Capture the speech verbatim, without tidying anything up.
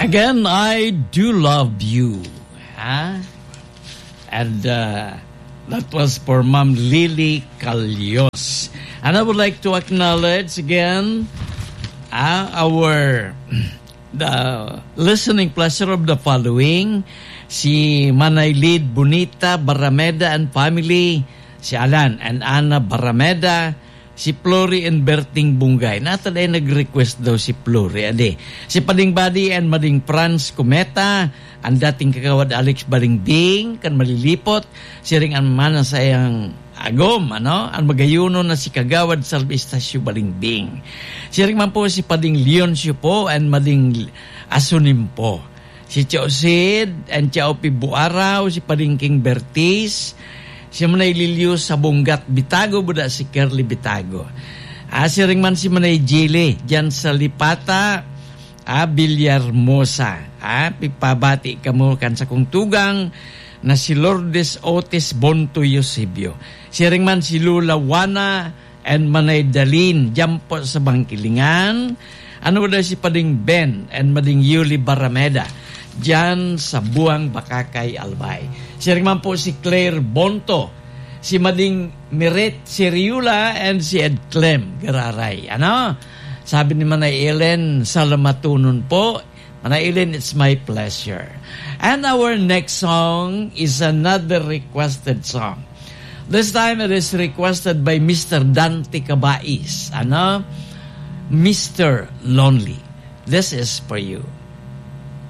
Again, I do love you. Ha? And uh, that was for Ma'am Lily Calyos. And I would like to acknowledge again uh, our the listening pleasure of the following: si Manay Lid Bonita Barameda and family, si Alan and Ana Barameda, si Flori and Berting Bungay. Nata dai nag-request daw si Flori, adi. Si Pading Badi and Mading Franz Cometa, ang dating kagawad Alex Balingbing, kan Malilipot, siring an mana sa iyang agom, ano? Ang magayuno na si Kagawad Salvi Estacio Balingbing. Siring man po si Pading Leoncio po and Mading Asunimpo. Si Tio Sid and Tio Pibuaraw, si Pading King Bertis, si Manay Lilius sa Bunggat Bitago, buda si Curly Bitago. Ah, siring man si Manay Jili, dyan sa Lipata, ah, Villarmosa. Ah, pipabati kamo kan sakong tugang na si Lourdes Otis Bonto Eusebio. Siring man si Lola Juana and Manay Dalin, dyan po sa Bangkilingan. Ano daw si Pading Ben and Mading Yuli Barameda, dyan sa Buang Bakakay, Albay. Siring man po si Claire Bonto, si Mading Miret Siriula, and si Ed Clem Gararay. Ano? Sabi ni Manay Ellen, salamatonon po. Manay Ellen, it's my pleasure. And our next song is another requested song. This time it is requested by Mister Dante Cabais. Ano? Mister Lonely. This is for you.